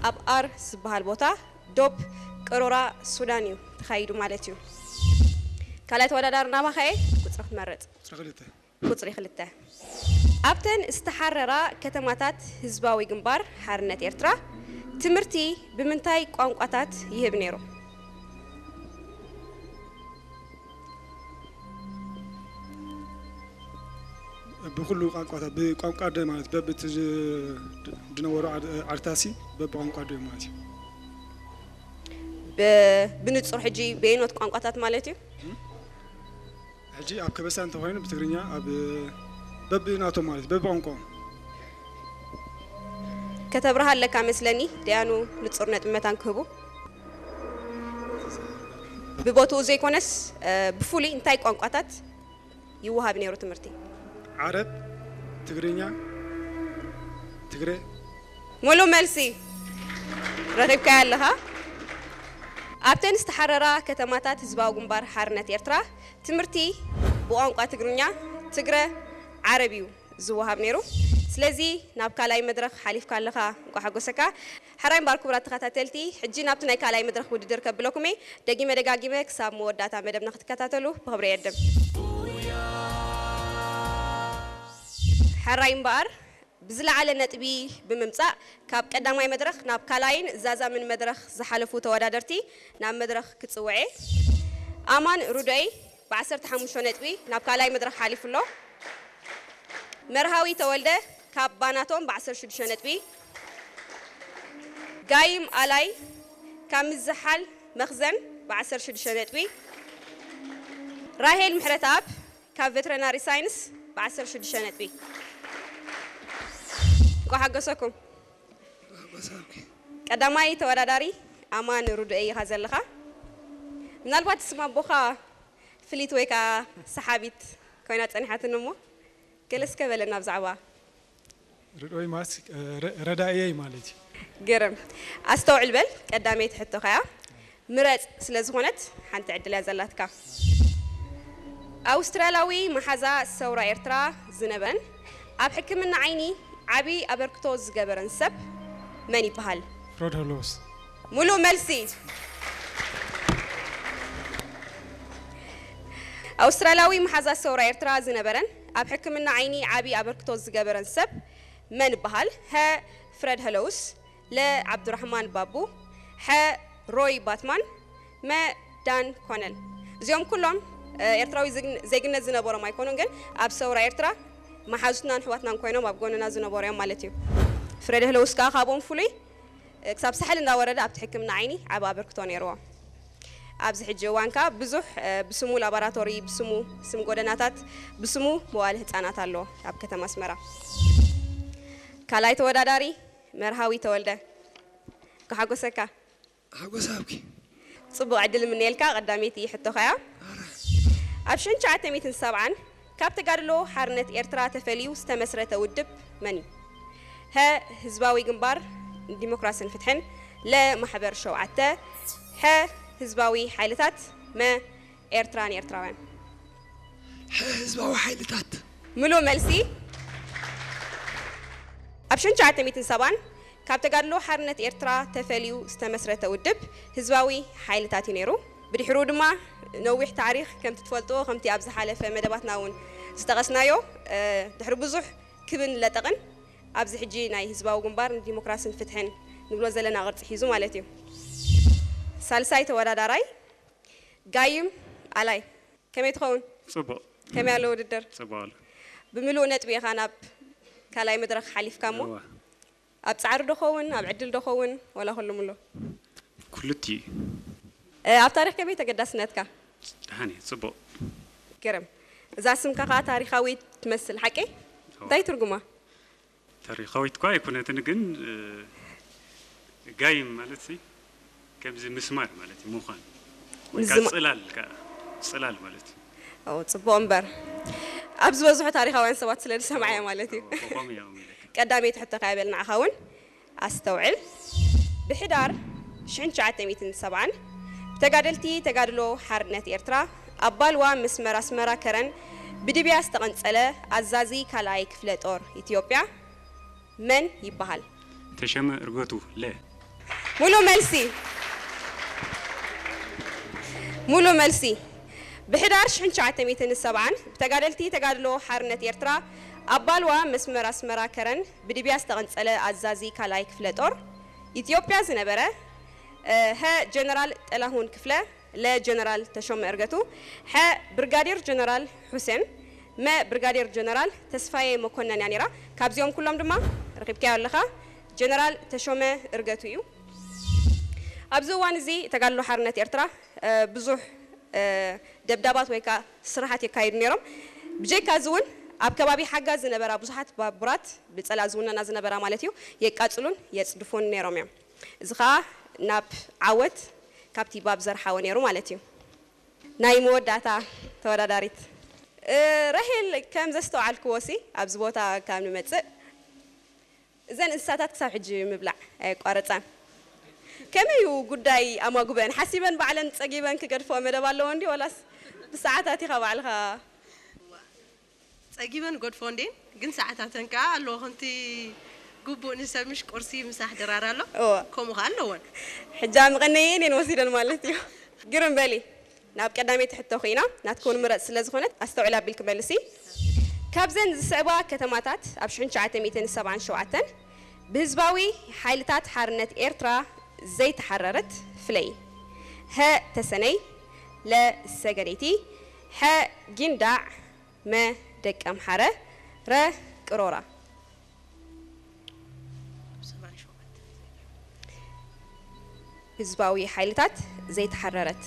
ኣብ ኣር ዝበሃል ቦታ ዶብ ቅሮራ ሱዳን እዩ ተኻይዱ ማለት እዩ። ካልኣይ ተወዳዳሪ ናባኻ እየ፣ ቁፅሪ ክትመርፅ። ቁፅሪ ክልተ። ቁፅሪ ክልተ። ኣብተን ዝተሓረራ ከተማታት ህዝባዊ ግንባር ሓርነት ኤርትራ ትምህርቲ ብምንታይ ቋንቋታት ይህብ ነይሩ? ብኩሉ ቋንቋታት ብቋንቋ ደ ማለት በብቲ ዝ- ዝነበሩ ዓድ- ዓድታሲ በብቋንቋ ደ ማለት እዩ። ብ- ብንጹር ሕጂ በየኖት ቋንቋታት ማለት እዩ? ሕጂ ኣብ ከበሳ እንተኮይኑ ብትግርኛ ኣብ በብናቶም ማለት በብቋንቋ ከተብርሃ ኣለካ መስለኒ። ደያኑ ንጹር ነጥቢ መታን ክህቡ ብቦትኡ ዘይኮነስ እ፣ ብፍሉይ እንታይ ቋንቋታት ይወሃብ ነይሩ ትምህርቲ? ዓረብ፣ ትግርኛ፣ ትግረ። ሙሉእ መልሲ ረኺብካዮ ኣለኻ። ኣብተን ዝተሓረራ ከተማታት ህዝባዊ ግንባር ሓርነት ኤርትራ ትምህርቲ ብቋንቋ ትግርኛ፣ ትግረ፣ ዓረብ እዩ ዝወሃብ ነይሩ። ስለዚ ናብ ካልኣይ መድረኽ ሓሊፍካ ኣለኻ፣ እንኳዕ ሓጎሰካ። ሕራይ እምበኣር ክቡራት ተኸታተልቲ፣ ሕጂ ናብቲ ናይ ካልኣይ መድረኽ ውድድር ከብለኩም እየ። ደጊመ ደጋጊመ ክሳብ መወዳእታ መደብና ክትከታተሉ ብኽብሪ እዕድም። ሕራይ እምበኣር ብዝለዓለ ነጥቢ ብምምጻእ ካብ ቀዳማይ መድረኽ ናብ ካልኣይን ዛዛምን መድረኽ ዝሓለፉ ተወዳደርቲ ናብ መድረኽ ክጽውዕ እየ። ኣማን ሩዶይ ብ15 ነጥቢ ናብ ካልኣይ መድረኽ ሓሊፉ ኣሎ። መርሃዊ ተወልደ ካብ ባናቶም ብ16 ነጥቢ፣ ጋይም ኣላይ ካብ ምዝሓል መኽዘን ብ16 ነጥቢ፣ ራሄል ምሕረተኣብ ካብ ቬተሪናሪ ሳይንስ ብ16 ነጥቢ። እንኳ ሓገሰኩም። ቀዳማይ ተወዳዳሪ ኣማን ሩዱኤ ኢኻ ዘለኻ። ምናልባት ስም ኣቦኻ ፍሊት ወይ ከዓ ሰሓቢት ኮይና ጸኒሓትኒ እሞ ገለ እስከ በለና ብዛዕባ ርድኦይ ማለት ረዳእየይ ማለት እዩ። ገረም ኣስተውዕል በል ቀዳመይቲ ሕቶ ከያ ምረጽ ስለ ዝኾነት ሓንቲ ዕድል እያ ዘላትካ። ኣውስትራላዊ መሓዛ ሰውራ ኤርትራ ዝነበረን ኣብ ሕክምና ዓይኒ ዓቢ ኣበርክቶ ዝገበረን ሰብ መን ይበሃል? ፍረድ ሆሎስ። ሙሉእ መልሲ። ኣውስትራላዊ መሓዛ ሰውራ ኤርትራ ዝነበረን ኣብ ሕክምና ዓይኒ ዓቢ ኣበርክቶ ዝገበረን ሰብ መን ይበሃል? ሀ ፍረድ ሀለውስ፣ ለ ዓብዱራሕማን ባቡ፣ ሐ ሮይ ባትማን፣ መ ዳን ኮነል። እዚኦም ኩሎም ኤርትራዊ ዜግነት ዝነበሮም ኣይኮኑን፣ ግን ኣብ ሰውራ ኤርትራ መሓዙትናን ኣሕዋትናን ኮይኖም ኣብ ጎንና ዝነበሩ እዮም ማለት እዩ። ፍረድ ሀለውስ ከዓ ካብኦም ፍሉይ ክሳብ ሳሕል እንዳወረደ ኣብቲ ሕክምና ዓይኒ ዓቢ ኣበርክቶ ነይርዎ። ኣብዚ ሕጂ እዋን ከዓ ብዙሕ ብስሙ ላቦራቶሪ፣ ብስሙ ስም ጎደናታት፣ ብስሙ መዋለ ህፃናት ኣሎ ኣብ ከተማ ኣስመራ። ካልኣይ ተወዳዳሪ መርሃዊ ተወልደ። ክሓጎሰካ። ሓጎስ ኣብኪ። ጽቡቕ ዕድል ምንየልካ። ቀዳመይቲ ሕቶኻ እያ። ኣብ ሽሕን ትሽዓተ ሚእትን ሰብዓን ካብ ተጋድሎ ሓርነት ኤርትራ ተፈልዩ ዝተመስረተ ውድብ መን እዩ? ሀ ህዝባዊ ግንባር ንዲሞክራስን ፍትሕን፣ ለ ማሕበር ሸውዓተ፣ ሐ ህዝባዊ ሓይልታት፣ መ ኤርትራ ንኤርትራውያን። ሕዝባዊ ሓይልታት። ምሉእ መልሲ። ኣብ ሽሕን ትሽዓተ ሚእትን ሰብዓን ካብ ተጋድሎ ሓርነት ኤርትራ ተፈልዩ ዝተመስረተ ውድብ ህዝባዊ ሓይልታት እዩ ነይሩ። ብድሕሩ ድማ ነዊሕ ታሪኽ ከምቲ ትፈልጥዎ ከምቲ ኣብ ዝሓለፈ መደባትና እውን ዝጠቐስናዮ ድሕሪ ብዙሕ ክብን ለጠቕን ኣብዚ ሕጂ ናይ ህዝባዊ ግንባር ንዲሞክራስን ፍትሕን ንብሎ ዘለና ቅርፂ ሒዙ ማለት እዩ። ሳልሳይ ተወዳዳራይ ጋይም ኣላይ። ከመይ ትኸውን? ጽቡቕ። ከመይ ኣሎ ውድድር? ጽቡቕ ኣሎ። ብምሉእ ነጥቢ ኢኻ ናብ ካልኣይ መድረኽ ሓሊፍካ እሞ እዋ። ኣብ ጻዕሪ ዶ ኸውን ኣብ ዕድል ዶ ኸውን ወላ ኩሉ ምሎ? ክልቲኡ። እ፣ ኣብ ታሪኽ ከመይ ተገዳስነትካ? ደሓን እየ፣ ጽቡቕ። ገረም። እዛ ስምካ ከኣ ታሪኻዊት ትመስል ሓቀይ? እንታይ ትርጉማ? ታሪኻዊት እኳ ኣይኮነትን ግን እ፣ ጋይም ማለት ሲ ከምዚ ምስማር ማለት እዩ ምዃን ወይ ከዓ ምዝማ- ጽላል ከዓ ጽላል ማለት እዩ። ኦ፣ ጽቡቕ እምበር ኣብ ዝበዝሑ ታሪኻውያን ሰባት ስለ ዝሰምዓያ ማለት እዩ። ከምኡ እዮም ኢለካ። ቀዳመይቲ ሕቶ ከኣ በል ንዓኻ እውን ኣስተውዕል። ብሕዳር ሽሕን ትሽዓተ ሚእትን ሰብዓን ብተጋደልቲ ተጋድሎ ሓርነት ኤርትራ ኣብ ባልዋ መስመር ኣስመራ ከረን ብድብያ ዝተቐንጸለ ኣዛዚ ካልኣይ ክፍለ ጦር ኢትዮጵያ መን ይበሃል? ተሸመ እርገቱ ለ ሙሉ መልሲ። ሙሉ መልሲ። ብሕዳር ሽሕን ትሽዓተ ሚእትን ሰብዓን ብተጋደልቲ ተጋድሎ ሓርነት ኤርትራ ኣብ ባልዋ መስመር ኣስመራ ከረን ብድብያ ዝተቐንጸለ ኣዛዚ ካልኣይ ክፍለ ጦር ኢትዮጵያ ዝነበረ፣ ሀ ጀነራል ጥላሁን ክፍለ፣ ለ ጀነራል ተሾመ እርገቱ፣ ሐ ብርጋዴር ጀነራል ሑሴን፣ መ ብርጋዴር ጀነራል ተስፋዬ መኮነን እያ ነይራ። ካብዚኦም ኩሎም ድማ ረኺብካዮ ኣለኻ፣ ጀነራል ተሾመ እርገቱ እዩ። ኣብዚ እዋን እዚ ተጋድሎ ሓርነት ኤርትራ ብዙሕ ደብዳባት ወይ ከዓ ስራሓት የካይዱ ነይሮም። ብጀካ እዚ እውን ኣብ ከባቢ ሓጋ ዝነበራ ብዙሓት ባቡራት ብፀላ ዝውነና ዝነበራ ማለት እዩ የቃፅሉን የፅድፉን ነይሮም እዮም። እዚ ከዓ ናብ ዓወት ካብቲ ባብ ዘርሓወ ነይሩ ማለት እዩ። ናይ መወዳእታ ተወዳዳሪት ራሄል፣ ከም ዘስተውዓልክዎ ሲ ኣብዚ ቦታ ካብ ንመፅእ እዘን እንስሳታት ክሳብ ሕጂ ምብላዕ ኣየቋረፃን። ከመይ እዩ ጉዳይ ኣማጉበን ሓሲበን ባዕለን ፀጊበን ክገድፎ መደብ ኣለዎ እንዲ ወላስ ብሰዓታት ኢኻ ባዕልኻ? ፀጊበን ገድፎ እንዴን ግን ሰዓታተን ከዓ ኣለዎ ከምቲ ግቡእ ንሰብ ምሽ ቁርሲ ምሳሕ ድራር ኣሎ። ከምኡ ከዓ ኣለዎን። ሕጃ ምቐነየን እየን ወሲደን ማለት እዩ። ግርም በሊ። ናብ ቀዳመይቲ ሕቶ ኮይና ናትክውን ምረፅ ስለ ዝኾነት ኣስተውዕል ኣቢልክ መልሲ። ካብዘን ዝስዕባ ከተማታት ኣብ ሽሕን ትሽዓተ ሚእትን ሰብዓን ሸውዓተን ብህዝባዊ ሓይልታት ሓርነት ኤርትራ ዘይተሓረረት ፍለይ። ሀ ተሰነይ፣ ለ ሰገነይቲ፣ ሐ ጊንዳዕ፣ መ ደቀምሓረ፣ ረ ቅሮራ። ህዝባዊ ሓይልታት ዘይተሓረረት